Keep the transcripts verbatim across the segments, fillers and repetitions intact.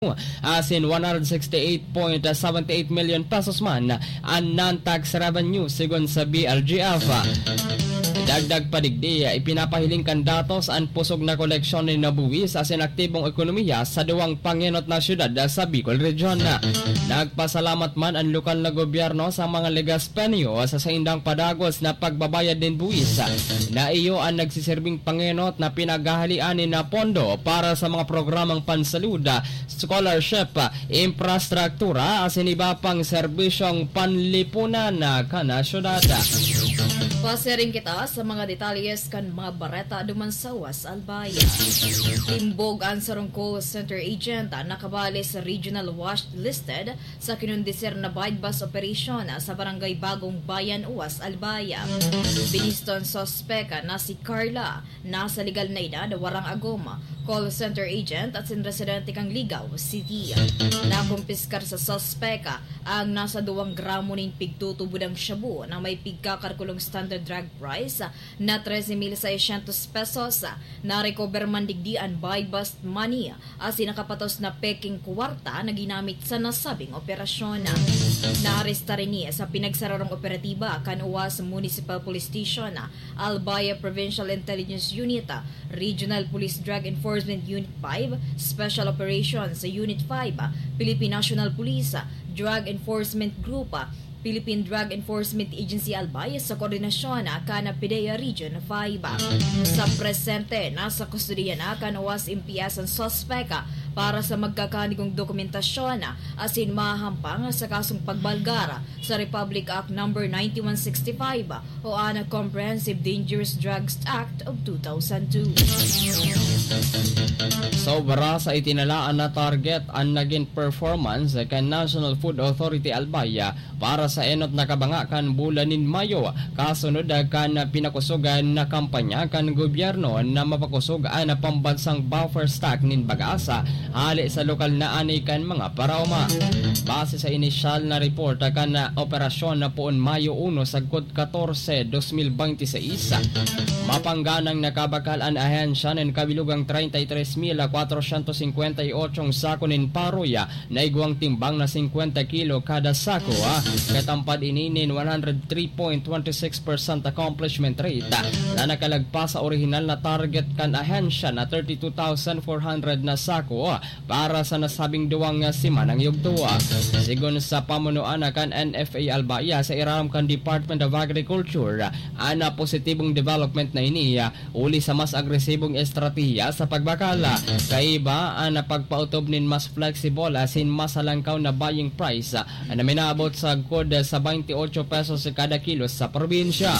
asin one hundred sixty-eight point seventy-eight million pesos man an non-tax revenue, sigon sa B L G F. Dagdag pa digdi, ipinapahiling kan datos an pusog na koleksyon nin buwis asin aktibong ekonomiya sa duwang pangenot na syudad sa Bicol Region. Nagpasalamat man an lokal na gobyerno sa mga Legaspeño sa saindang padagos na pagbabayad nin buwis, na iyo an nagsisirbing pangenot na pinaghahalian nin pondo para sa mga programang pansalud, scholarship, infrastruktura, asin iba pang serbisyong panlipunan kan syudad. Pasiring kita sa mga detalyes kan mga bareta duman sa West Albay. Timbog an sarong call center agent na nakabali sa regional watch listed sa kinondisir na buy-bust operation sa Barangay Bagong Bayan, West Albay. Binisto an suspek na si Carla, nasa legal na edad, warang agom, call center agent asin residente kan Ligao City. Nakumpiskar sa suspek ang nasa duwang gramo nin pigtutubodang shabu na may pigkakalkulong standard drug price na trese mil seiscientos pesos. Na-recover man digdi an buy-bust money asin nakapatos na peking kwarta na ginamit sa nasabing operasyon. Naaresta rini sa pinagsararong operatiba kan Oas Municipal Police Station, Albay Provincial Intelligence Unit, Regional Police Drug Enforcement Unit five, Special Operations Unit five, Philippine National Police, Drug Enforcement Group, Philippine Drug Enforcement Agency Albay sa koordinasyon kan PDEA Region five. Sa presente, nasa kustodiya na kan Oas M P S an suspek para sa magkakanigong dokumentasyon asin mahahampang sa kasong pagbalgar sa Republic Act Number ninety-one sixty-five o an Comprehensive Dangerous Drugs Act of two thousand two. Sobra sa itinalaan na target an nagin performance kan National Food Authority Albay para sa enot na kabanga kan bulan nin Mayo, kasunod kan pinakusogan na kampanya kan gobyerno na mapakosog an pambansang buffer stock nin bagas hale sa lokal na ani kan mga paraoma. Base sa inisyal na report kan operasyon na poon Mayo uno sagkod katorse, dos mil bente seis, mapangganang nakabakal an ahensya nin kabilugang treinta y tres mil cuatrocientos cincuenta y ocho sako nin paroy na igwang timbang na singkwenta kilo kada sako, ah. Katampad ini nin one hundred three point twenty six percent accomplishment rate, ah, na nakalagpas sa orihinal na target kan ahensya na thirty two thousand four hundred na sako, ah, para sa nasabing duwang, ah, semanang yugto, ah. Sigon sa pamunuan na kan N F A Albay, ah, sa irarom kan Department of Agriculture, ah, an, ah, positibong development na ini, ah, huli sa mas agresibong estratehiya sa pagbakal. Kaiba an pagpaotob nin mas flexible asin mas halangkaw na buying price na minaabot sagkod sa twenty-eight pesos kada kilo sa probinsya.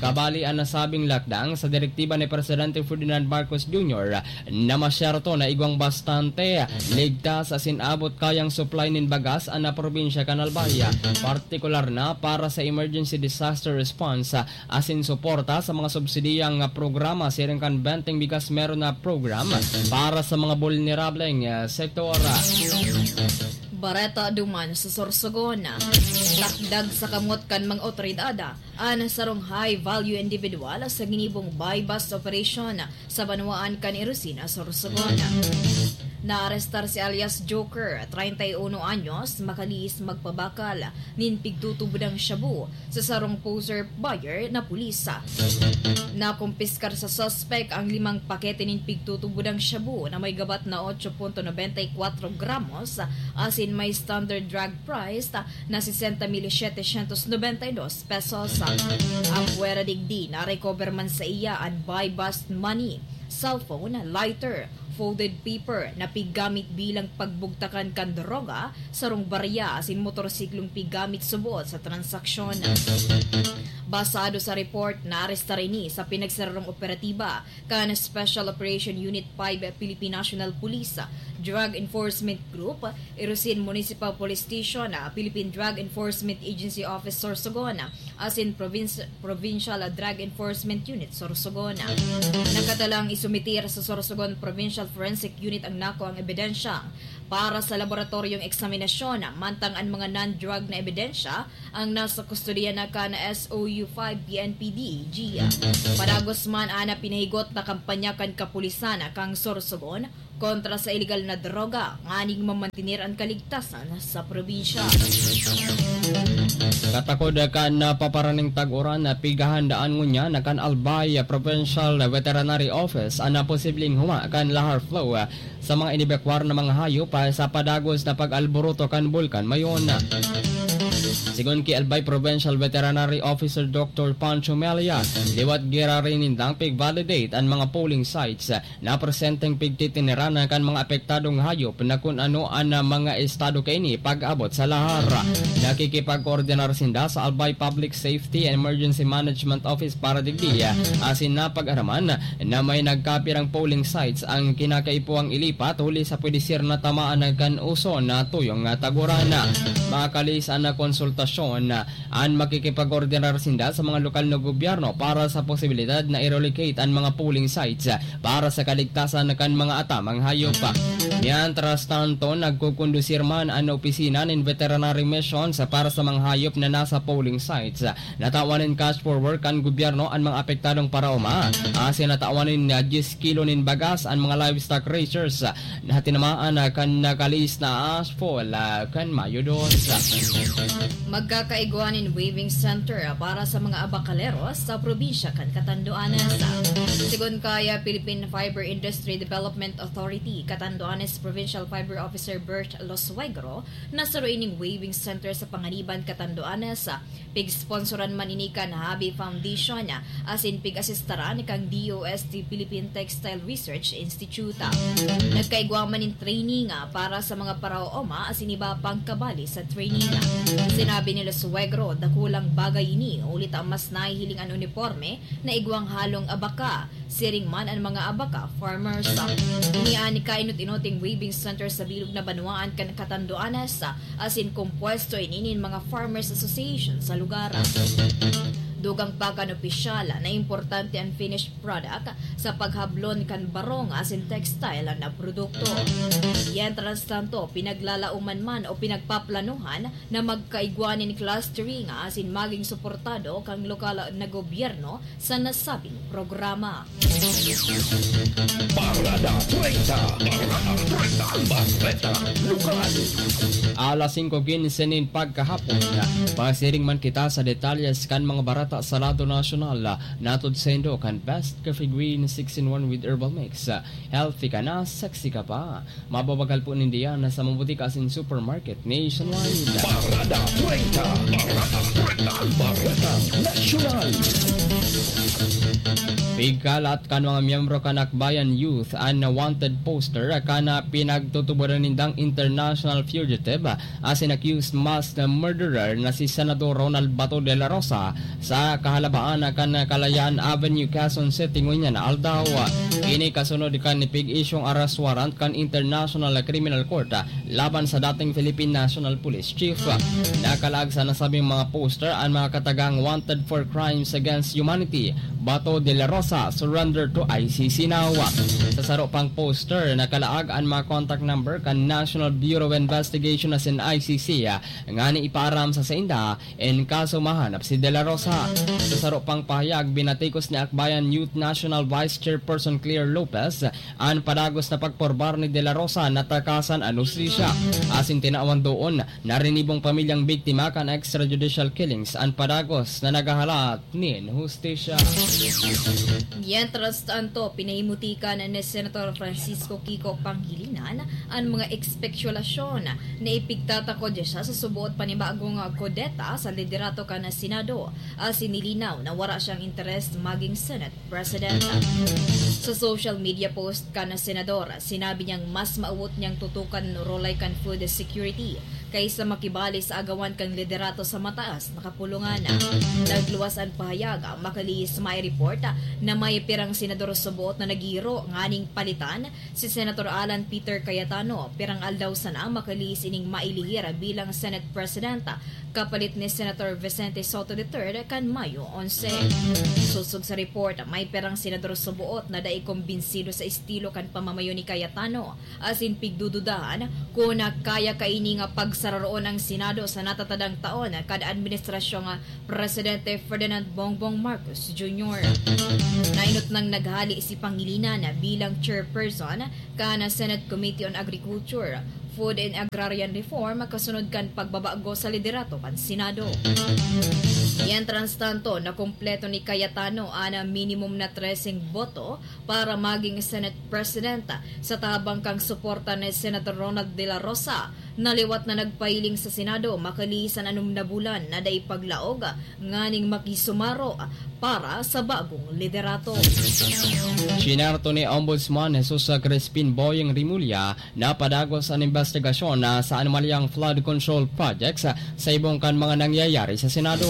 Kabali an nasabing lakdang sa direktiba ni Presidente Ferdinand Marcos Junior na masyerto na igwang bastante ligtas asin abot kayang supply nin bagas an probinsya kan Albay, partikular na para sa emergency disaster response asin suporta sa mga subsidiyang programa siring kan Benteng Bigas Meron na program para sa mga bulnerableng, ah, sektor. Bareta duman sa Sorsogon. Takdag sa kamot kan mga otoridad an sarong high-value individual sa ginibong buy-bust operation sa banwaan kan Erosina, Sorsogon. Naarestar si alias Joker, treinta y uno anyos, makalihis magpabakal nin pigtutubodang shabu sa sarong poser buyer na pulis. Nakumpiskar sa suspek ang limang pakete nin pigtutubodang shabu na may gabat na ocho punto nobenta y kwatro gramos asin may standard drug price na sesenta mil setecientos nobenta y dos pesos. Apwera digdi, na-recover man sa iya an buy-bust money, cellphone, lighter, folded paper na piggamit bilang pagbugtakan kan droga, sarong barya asin motorsiklong piggamit subot sa transaksyon. Basado sa report, naarestar ini sa pinagsararong operatiba kan Special Operation Unit five Philippine National Police, Drug Enforcement Group, Irosin Municipal Police Station, Philippine Drug Enforcement Agency Office Sorsogon, asin Province, Provincial Drug Enforcement Unit Sorsogon. Nakatalang isumitir sa Sorsogon Provincial Forensic Unit ang nakuang ebidensya para sa laboratoryong eksaminasyon, mantang an mga non-drug na ebidensya ang nasa kustodiya na kan S O U five P N P D G. Padagos man an pinahigot na kampanya kan kapulisan kan Sorsogon kontra sa iligal na droga nganing mamantener an kaligtasan sa probinsya. Katakod kan napaparaning tag-uran, pighahandaan ngunyan na kan Albay Provincial Veterinary Office an posibleng huma kan lahar flu sa mga inibekwar na mga hayop sa padagos na pag-alboroto kan Bulkan Mayon. Sigon ki Albay Provincial Veterinary Officer Doctor Pancho Melia, liwat giraray nindang pig-validate an mga polling sites na presenteng pigtitiniran kan mga apektadong hayop na kun ano an mga estado kaini pag-abot sa lahar. Nakikipagkoordinar sinda sa Albay Public Safety and Emergency Management Office para digdi, asin napag-araman na may nagkapirang polling sites ang kinakaipuhang ilipat huli sa pwede sira na tamaan kan uso na tuyong tag-uran. Makalis an konsultasyon an makikipag-ordinar sinda sa mga lokal na gobyerno para sa posibilidad na i-relocate an mga polling sites para sa kaligtasan kan mga atamang hayop. Mientras tanto, nagkukondusir man an opisina nin Veterinary Missions para sa mga hayop na nasa polling sites. Natawan nin cash for work kan gobyerno an mga apektadong paraoma, asin natawan nin, ah, diyes kilo nin bagas an mga livestock raisers na tinamaan, ah, kan nakalis na ashfall, ah, kan Mayo dos. Magkakaigwa nin weaving center para sa mga abakaleros sa probinsya kan Catanduanes. Sigon kaya Philippine Fiber Industry Development Authority, Catanduanes Provincial Fiber Officer Bert Losuegro, na saro ining weaving center sa Panganiban, Catanduanes. Pig-sponsoran man ini kan Habi Foundation, asin pig-asistaran kan D O S T Philippine Textile Research Institute. Nagkaigwa man nin training, ah, para sa mga paraoma asin iba pang kabali sa training. Sinabi ni Losuegro, dakulang bagay ini, huli ta mas nahihiling an uniporme na igwang halong abaka, siring man an mga abaka farmers. Ini an kainot-inoting weaving center sa bilog na banwaan kan Catanduanes, asin kompuesto ini nin mga farmers association sa lugar. Dugang pa kan opisyal na importante an finished product sa paghablon kan barong asin textile na produkto. Mientras tanto, pinaglalaoman man o pinagpaplanuhan na magkaigwa nin clustering asin maging suportado kan lokal na gobyerno sa nasabing programa. Parada treinta. Parada treinta. Bareta Lokal. Alas singko quince nin pagkahapon, pasiring man kita sa detalyes kan mga bareta sa lado nasyonal. Natod saindo kan Best Coffee Green six-in-one with Herbal Mix. Healthy ka na, sexy ka pa. Mababagal po ninda yan sa mga butika asin supermarket nationwide. Parada treinta. Parada treinta. Bareta Nasyonal. Pigkalat kan mga miyembro kan Akbayan Youth an wanted poster kan pinagtutuboran nindang international fugitive asin accused mass murderer na si Senador Ronald Bato de la Rosa sa kahalabaan kan Kalayaan Avenue, Quezon City, ngunyan na aldaw. Ini kasunod kan pig-isyong arrest warrant kan International Criminal Court laban sa dating Philippine National Police Chief. Nakalaag sa nasabing mga poster an mga katagang wanted for crimes against humanity, Bato de la Rosa, surrender to I C C now. Sa saro pang poster, nakalaag an mga contact number kan National Bureau of Investigation asin I C C, ngani ipaaram sa sainda in kaso mahanap si De La Rosa. Sa saro pang pahayag, binatikos ni Akbayan Youth National Vice Chairperson Claire Lopez an padagos na pagporbar ni De La Rosa na takasan an hustisya. Asin tinawan doon na rinibong pamilyang biktima kan extrajudicial killings an padagos na naghahalat nin hustisya. Mientras tanto, pinahimutikan ni Senator Francisco Kiko Pangilinan an mga espeksyolasyon na ipigtatakod siya sa suboot panibagong kudeta sa liderato kan Senado. Asin nilinaw na wara siyang interes magin Senate President. Sa social media post kan Senador, sinabi niyang mas maawot niyang tutukan an urolay kan food security kaysa makibali sa agawan kan liderato sa mataas na kapulungan. Nagluwas an pahayag, makalihis mai-report na may pirang senador suboot na naghihiro nganing palitan si Senator Alan Peter Cayetano, pirang aldaw sana makalihis ining mailihir bilang Senate President, kapalit ni Senator Vicente Sotto the third kan Mayo onse. Sosog sa report, may pirang senador suboot na dai kumbinsido sa estilo kan pamamayo ni Cayetano, asin pigdududahan kun kaya kaini nga pag Sararoon ang Senado sa natatadang taon kan administrasyong Presidente Ferdinand Bongbong Marcos Junior. Nainot nang naghali si Pangilinan bilang chairperson kan Senate Committee on Agriculture, Food and Agrarian Reform kasunod kan pagbabago sa liderato kan Senado. Mientras tanto, nakumpleto ni Cayetano an minimum na treseng boto para maging Senate President sa tabang kan suporta ni Senator Ronald De La Rosa, na liwat na nagpahiling sa Senado makalisan anom na bulan na dai paglaog nganing makisumaro para sa bagong liderato. Sinerto ni Ombudsman Jesus Crispin Boying Rimulya na padagos an imbestigasyon na sa anomalyang flood control projects sa ibong kan mga nangyayari sa Senado.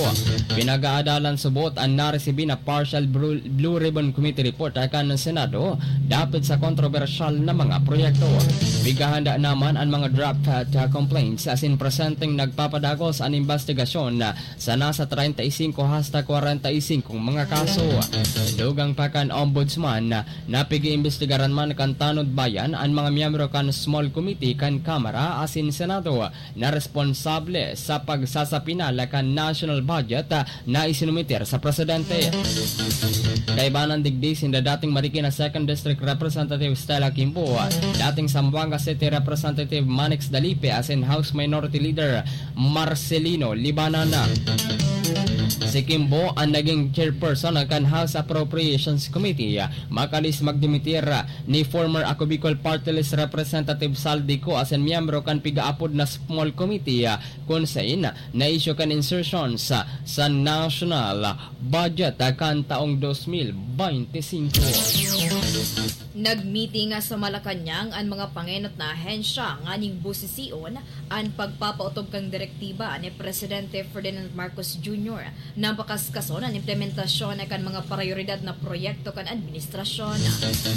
Pinag-aadalan subot an naresibi na Partial Blue, Blue Ribbon Committee Report kan Senado dapit sa kontrobersyal na mga proyekto. Pighahanda naman an mga draft, uh, complaints asin presenteng nagpapadagos an imbestigasyon sa nasa treinta y cinco hasta kwarenta y cinco mga kaso. Dugang pa kan Ombudsman, napig-iimbestigaran man kan Tanod Bayan an mga miyembro kan Small Committee kan Kamara asin Senado na responsable sa pagsasapinal kan national budget na isinumiter sa presidente. Kaibanan digdi, sinda dating Marikina Second District Representative Stella Kimbo, dating Zamboanga City Representative Manix Dalipe asin House Minority Leader Marcelino Libanan. Si Kimbo ang naging chairperson kan House Appropriations Committee. Makalis magdimitir ni former Ako Bicol Party List Representative Sal Dico asin miyembro kan pigaapod na Small Committee, kun sain na-issue kan insertions sa national budget kan taong dos mil bente singko. Nagmiting sa Malacañang an mga pangenot na ahensya nganing busision an pagpapaotob kan direktiba ni Presidente Ferdinand Marcos Junior na pakaskason an implementasyon kan mga prayoridad na proyekto kan administrasyon.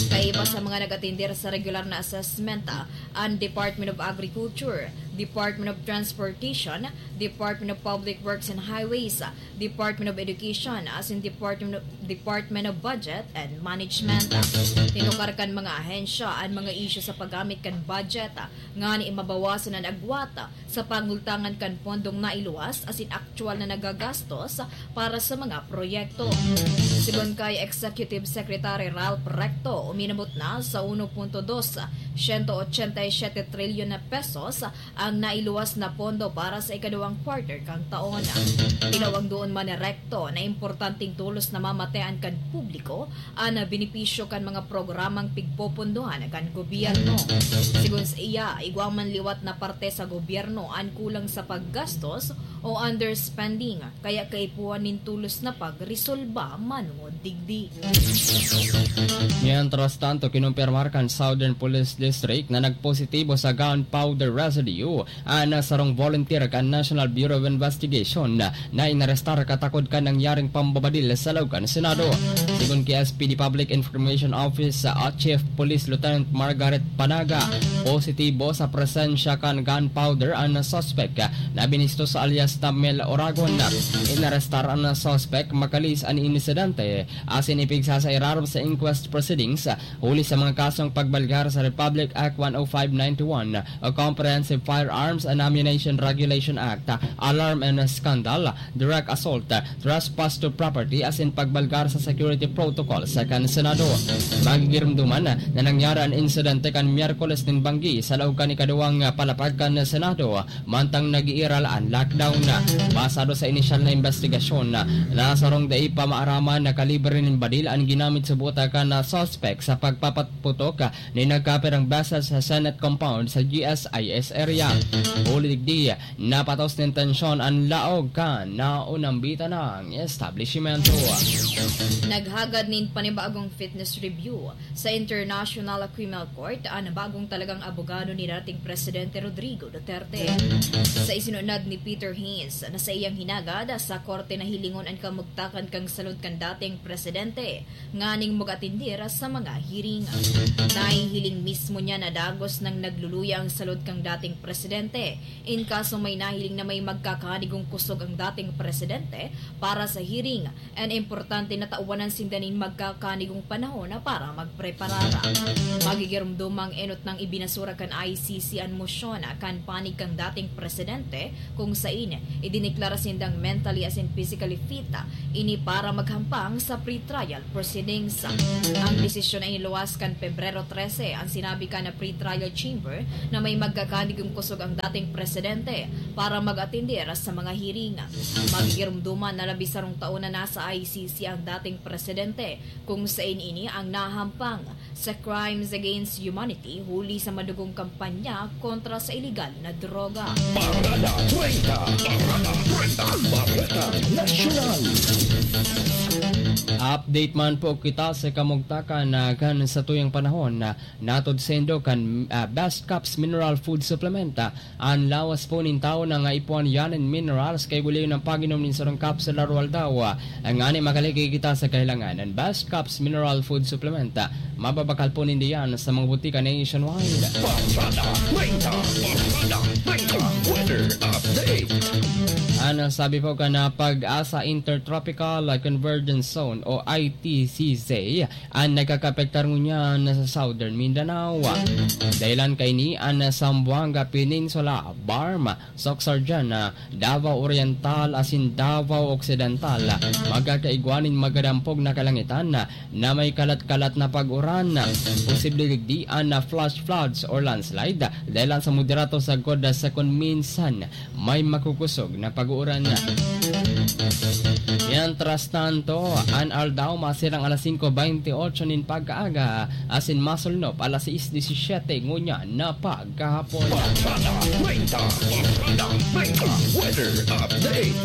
Kaiba sa mga nag-atender sa regular na assessment, an Department of Agriculture, Department of Transportation, Department of Public Works and Highways, Department of Education, asin Department of, Department of Budget and Management. Tinukar kan mga ahensya an mga isyu sa paggamit kan budget, ngani mabawasan an agwat sa pangultangan kan pondong nailuwas asin aktuwal na nagagastos para sa mga proyekto. Sigon kay Executive Secretary Ralph Recto, uminabot na sa uno punto dos, siyento ochenta y siyete trilyon na pesos ang nailuwas na pondo para sa ikaduwang quarter kan taon. Tinawag doon man ni Recto na importanteng tolos na mamatean kan publiko an benepisyo kan mga programang pigpopondohan kan gobyerno. Sigon sa iya, igwa man liwat na parte sa gobyerno an kulang sa paggastos o underspending, kaya kaipuhan nin tolos na pagresolba manongod digdi. Mientras tanto, kinumpirmar kan Southern Police District na nagpositibo sa gunpowder residue an sarong volunteer kan National Bureau of Investigation na inarestar katakod kan nangyaring pambabadil sa laog kan Senado. Sigon ki S P D Public Information Office, ah, Chief Police Lieutenant Margaret Panaga, positibo sa presensya kan gunpowder an suspek na binistos alias Tamel Oragon. Inarestar an suspek makalis an insidente asin ipigsasairarom sa inquest proceedings huli sa mga kasong pagbalgar sa Republic Act one oh five ninety-one o Comprehensive Firearms and Ammunition Regulation Act, Alarm and Scandal, Direct Assault, Trespass to Property asin pagbalgar sa security protocols kan Senado. Magigiromdoman na nangyari an insidente kan Miyerkules nin banggi sa laog kan ikaduwang palapag kan Senado, mantang nag-iiral an lockdown. Basado sa inisyal na imbestigasyon, nasarong dai pa maaraman na kalibre nin badil an ginamit subot kan suspek sa pagpapaputok nin nagkapirang beses sa Senate compound sa G S I S area. Huli digdi, napatos nin tensyon an laog kan naunambitan na establishmento. Naghagad nin panibagong fitness review sa International Criminal Court an bagong talagang abogado ni dating Presidente Rodrigo Duterte. Sa isinunod ni Peter Haynes na saiyang hinagad sa korte na hilingon an kamugtakan kan salud kan dating presidente nganing mag-atindir sa mga hearing. Nahihiling mismo niya na dagos nang nagluluya ang salud kan dating presidente presidente. In kaso may nahiling na may magkakanigong kusog ang dating presidente para sa hearing, an importante na tawanan sinda nin magkakanigong panahon na para magpreparar. Magigirumdom ang enot nang ibinasura kan I C C an mosyon kan panig kan dating presidente, kung sain idineklara sindang mentally asin physically fit ini para maghampang sa pre-trial proceedings. Ang desisyon ay niluwas kan Pebrero trese. An sinabi kan pre-trial chamber na may magkakanigong kusog ang dating presidente para mag-atender sa mga hearing. Magigirumduman na labing sarong taon na nasa I C C ang dating presidente, kung sain ini ang nahampang sa crimes against humanity huli sa madugong kampanya kontra sa iligal na droga. Parada treinta, Parada treinta, Bareta Nasyonal. Update man po kita sa kamugtakan na kan satuyang panahon na natod saindo kan, ah, Best Caps Mineral Food Supplement. Ah, an lawas po nin tawo na nga ipuan yan nin minerals kay guli ng pag-inom nin sarong capsule aroaldaw. Ah, ngani makaliki kita sa kahilangan. An Best Caps Mineral Food Supplement, ah, mababakal po nindo yan sa mga butika nationwide. Parada treinta, Parada treinta, weather update. An sabi po kan Pag-asa Intertropical Convergence Zone o I T C Z, an nagkakaapektar ngunyan sa Southern Mindanao. Dahilan kaini an Zamboanga Peninsula, BARMM, Soccsksargen, Davao Oriental asin Davao Occidental. Magkakaigwa nin magadampog na kalangitan na may kalat-kalat na pag-uran. Posible digdi an flash floods or landslide dahilan sa moderato sagkod sa kun minsan may makukusog na pag-uuran. Mientras tanto, an aldaw masirang alas singko beintiotso nin pagkaaga, asin masulnop alas sais disisiete ngunyan na pagkahapon. Parada treinta, Parada treinta, weather update.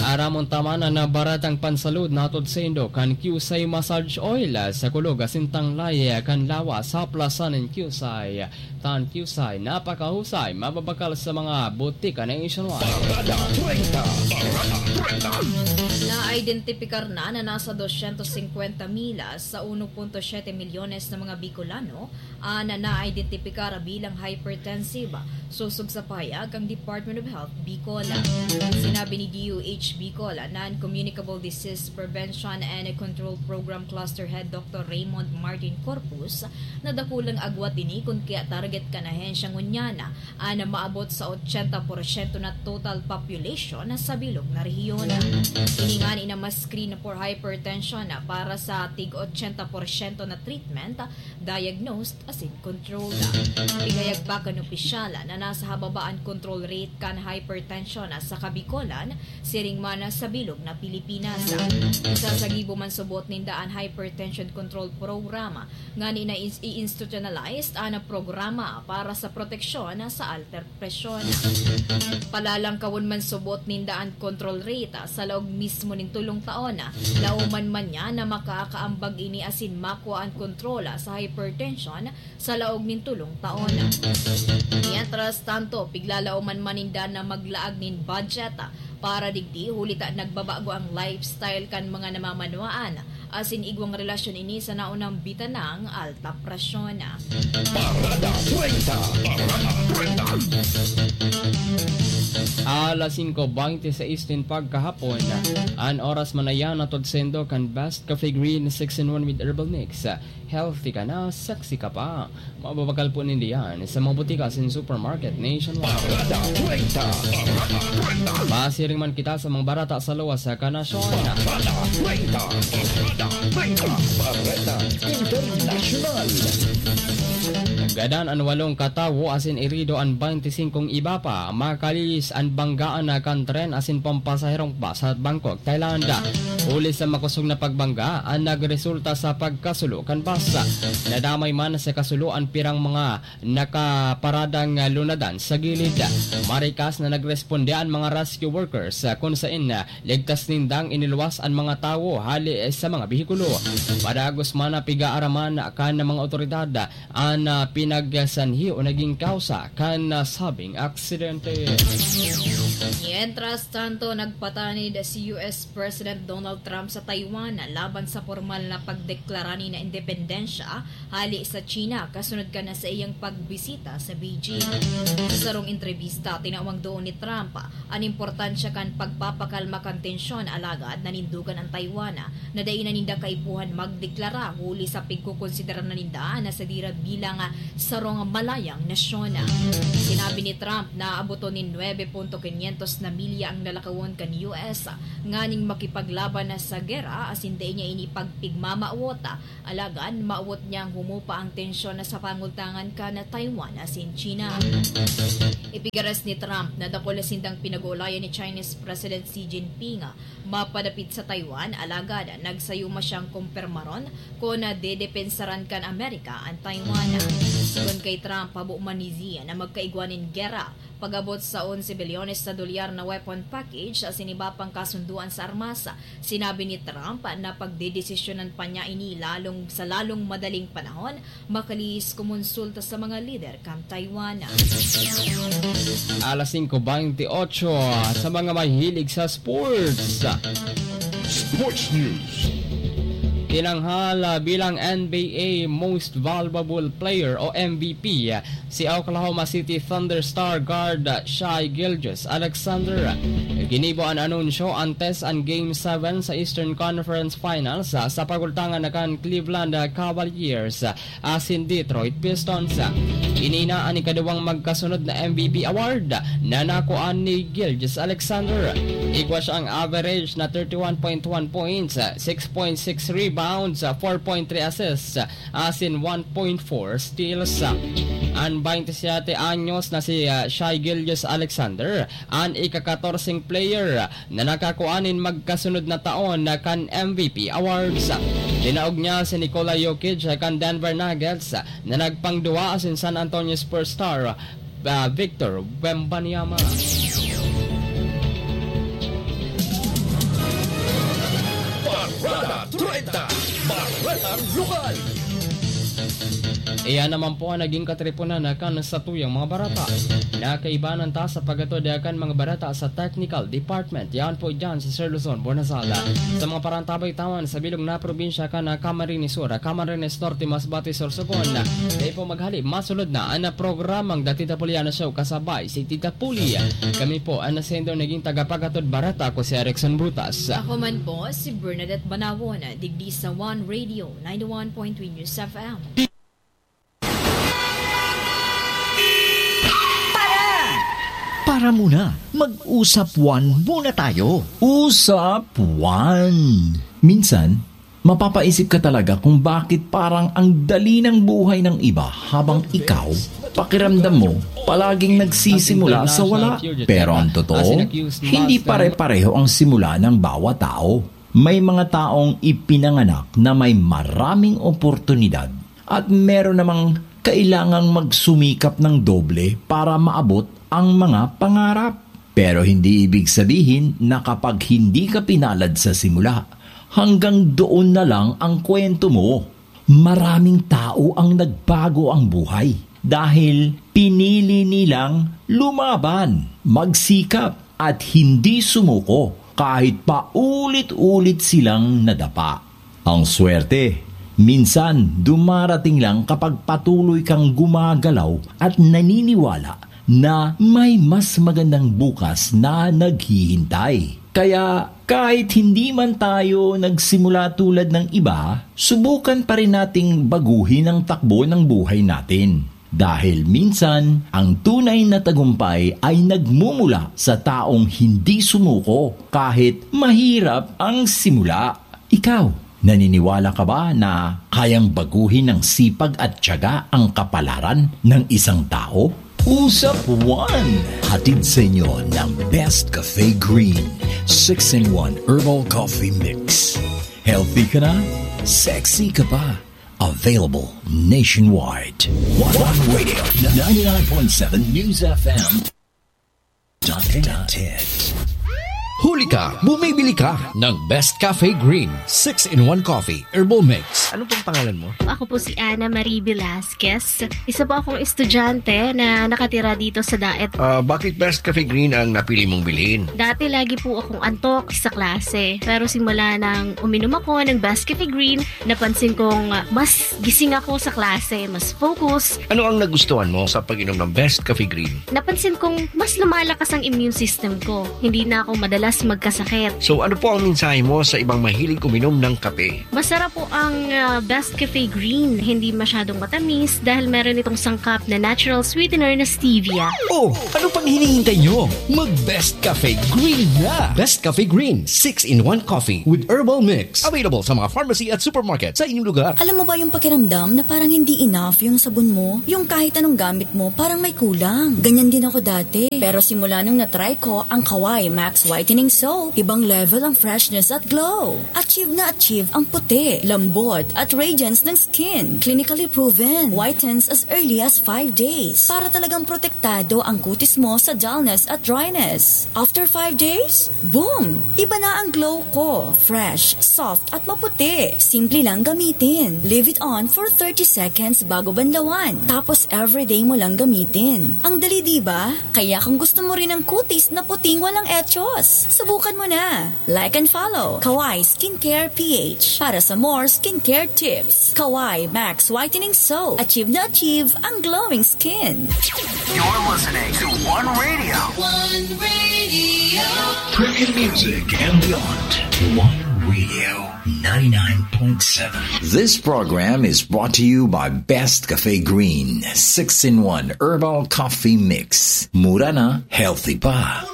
Aramon ta man an baratang pansalud na hatod saindo kan Qusay Massage Oil sa kulog asin tanglay kan lawas, haplasan nin Qusay. Tan Qusay, napakahusay, mababakal sa mga butika nationwide. Parada treinta, Parada treinta. Naidentipikar na na nasa dosyentos singkwenta mil sa uno punto siyete milyones na mga Bicolano an naiidentipikar bilang hypertensive, sosog sa pahayag kan Department of Health Bicol. Sinabi ni D O H Bicol Non-Communicable Disease Prevention and Control Program Cluster Head Doctor Raymond Martin Corpus na dakulang agwat ini kun kaya target kan ahensya ngunyan an maabot sa ochenta porsyento na total population sa bilog na rehiyon. Ini ngani na ma-screen for hypertension para sa tig ochenta porsyento na treatment, diagnosed asin controlled. Pinahayag pa kan opisyal na nasa hababa an control rate kan hypertension sa Kabicolan, siring man sa bilog na Pilipinas. Isa sa gibo man subot ninda an Hypertension Control Program, ngani na is-, i-institutionalized an programa para sa proteksyon sa alter presyon. Palalangkawon man subot ninda an control rate sa laog mismo nin tolong taon. Laoman man niya na makakaambag ini asin makua an kontrol sa hypertension sa laog nin tolong taon. Mientras tanto, piglalaoman man ninda na maglaag nin budget para digdi, huli ta nagbabago ang lifestyle kan mga namamanwaan, asin igwang relasyon ini sa naunang bitanang alta presyon. Parada treinta, Parada treinta. Alas singko beintiseis nin pagkahapon, an oras man na yan, hatod saindo kan Best Coffee Green six in one with Herbal Mix. Healthy ka na, sexy ka pa. Mababakal po ninda yan sa mga butika asin supermarket nationwide. Parada treinta, Parada treinta. Pasiring man kita sa mga bareta sa luwas sa kanasyon. Parada treinta, Parada treinta, Bareta Internasyonal. Nagadan an walong katawo asin irido an beinti singkong iba pa. Makalihis an banggaan na kan tren asin pampasaherong bus sa Bangkok, Thailand. Huli sa makosog na pagbangga, an nagresulta sa pagkasulo kan bus. Nadamay man sa kasulo an pirang mga nakaparadang lunadan sa gilid. Marikas na nagresponde an mga rescue workers, kun sain ligtas nindang iniluwas an mga tawo hali sa mga behikulo. Padagos man na pigaaraman kan mga otoridad an, ah, nagsanhi o naging kausa kan nasabing aksidente. Mientras tanto, nagpatanid si U S President Donald Trump sa Taiwan laban sa pormal na pagdeklara ni na independensya hali sa China, kasunod kan saiyang pagbisita sa Beijing. Sa sarong entrebista, tinawang doon ni Trump an importansya kan pagpapakalma kan tensyon, alagad nanindogan an Taiwan na dai na ninda kaipuhan magdeklara, huli sa pigkokonsidera na ninda na sadira bilang sarong malayang nasyon. Sinabi ni Trump na abuton nin nuebe punto kinyentos na milya ang lalakawon kan U S nganing makipaglaban na sa gera, asin dai niya ini pagpigmamawot. Alagad mawot niyang humupa ang tensyon na sa pangultangan kan Taiwan asin China. Ipigaras ni Trump na dakul na sindang pinag-oolayan ni Chinese President Xi Jinping mapadapit sa Taiwan, alagad nagsayuma siyang kumpirmaron kun dedepensaran kan Amerika an Taiwan. Sigon kay Trump, habo man ni Xi na magkaigwa nin gera pag-abot sa onse bilyones na dolyar na weapon package asin iba pang kasunduan sa armas. Sinabi ni Trump na pagdedesisyonan pa niya ini lalong, sa lalong madaling panahon, makalihis kumonsulta sa mga lider kan Taiwan. Alas singko bente otso, sa mga mahilig sa sports. Sports News. Tinanghal, ah, bilang N B A Most Valuable Player o M V P, ah, si Oklahoma City Thunder star guard, ah, Shai Gilgeous-Alexander. Ginibo an anunsyo antes an Game seven sa Eastern Conference Finals, ah, sa pagultangan na kan Cleveland, ah, Cavaliers, ah, asin Detroit Pistons. Ini na an ikaduwang magkasunod na M V P award na nakuha ni Gilgeous-Alexander. Igwa siya an average na thirty-one point one points, six point six rebounds, four point three assists, asin one point four steals. An baynte siyete anyos na si, ah, Shai Gilgeous-Alexander, an ikakatorseng player na nakakua nin magkasunod na taon na kan M V P Awards. Linaog niya si Nikola Jokic kan Denver Nuggets na nagpangduwa asin San Antonio Spurs star, ah, Victor Wembanyama. Barada treinta, Baratang Lokal. Iyan naman po ang naging katipunan na kan satuyang mga barata. Nakaibanan ta sa paghatod kan mga barata sa technical department. Yan po dyan sa Sir Luzon, Bonasala. Sa mga parantabay tawan sa bilog na probinsya kan Camarines Sur, Camarines Norte, Masbate, Sorsogon. Kayo po maghalip, masunod na ang programang Dati Tapuliano Show kasabay si Tita Puli. Kami po ang nasendo naging tagapaghatod barata, ako si Erickson Butas. Ako man po si Bernadette Banawon, digdi sa One Radio, ninety-one point three News F M. Para! Para muna. Mag-usap one muna tayo. Usap one. Minsan, mapapaisip ka talaga kung bakit parang ang dali ng buhay ng iba habang ikaw, pakiramdam mo, palaging nagsisimula sa wala. Pero ang totoo, hindi pare-pareho ang simula ng bawat tao. May mga taong ipinanganak na may maraming oportunidad at meron namang kailangang magsumikap ng doble para maabot ang mga pangarap. Pero hindi ibig sabihin na kapag hindi ka pinalad sa simula, hanggang doon na lang ang kwento mo. Maraming tao ang nagbago ang buhay dahil pinili nilang lumaban, magsikap, at hindi sumuko kahit paulit-ulit silang nadapa. Ang swerte, minsan dumarating lang kapag patuloy kang gumagalaw at naniniwala na may mas magandang bukas na naghihintay. Kaya kahit hindi man tayo nagsimula tulad ng iba, subukan pa rin nating baguhin ang takbo ng buhay natin. Dahil minsan, ang tunay na tagumpay ay nagmumula sa taong hindi sumuko kahit mahirap ang simula. Ikaw, naniniwala ka ba na kayang baguhin ng sipag at tiyaga ang kapalaran ng isang tao? Usap One, hatid sa inyo ng Best Cafe Green, six-in-one Herbal Coffee Mix. Healthy ka na? Sexy ka pa? Available nationwide. One Radio, ninety-nine point seven News F M. Dot net. Huli ka, bumibili ka ng Best Cafe Green six-in-one Coffee Herbal Mix. Ano pong pangalan mo? Ako po si Ana Marie Velasquez. Isa po akong estudyante na nakatira dito sa Daet. Ah, bakit Best Cafe Green ang napili mong bilhin? Dati lagi po akong antok sa klase. Pero simula nang uminom ako ng Best Cafe Green, napansin kong ah, mas gising ako sa klase, mas focus. Ano ang nagustuhan mo sa pag-inom ng Best Cafe Green? Napansin kong mas lumalakas ang immune system ko. Hindi na ako madalas magkasakit. So ano po ang mensahe mo sa ibang mahilig uminom ng kape? Masarap po ang ah, Best Cafe Green. Hindi masyadong matamis dahil meron itong sangkap na natural sweetener na stevia. Oh, ano pang hinihintay nyo? Mag Best Cafe Green na! Best Cafe Green six-in-one Coffee with Herbal Mix. Available sa mga pharmacy at supermarket sa inyong lugar. Alam mo ba yung pakiramdam na parang hindi enough yung sabon mo? Yung kahit anong gamit mo, parang may kulang. Ganyan din ako dati. Pero simula nung na-try ko ang Kawai Max Whitening Soap, ibang level ang freshness at glow. Achieve na achieve ang puti, lambot, at radiance ng skin. Clinically proven. Whitens as early as five days. Para talagang protektado ang kutis mo sa dullness at dryness. After five days, boom! Iba na ang glow ko. Fresh, soft, at maputi. Simple lang gamitin. Leave it on for thirty seconds bago banlawan. Tapos everyday mo lang gamitin. Ang dali, di ba? Kaya kung gusto mo rin ng kutis na puting walang echos, subukan mo na. Like and follow Kawai Skincare P H para sa more skincare tips. Kawai Max Whitening Soap. Achieve na achieve ang glowing skin. You're listening to One Radio. One Radio. Premium music and beyond. One Radio ninety-nine point seven. This program is brought to you by Best Cafe Green six-in-one Herbal Coffee Mix. Mura na, healthy pa.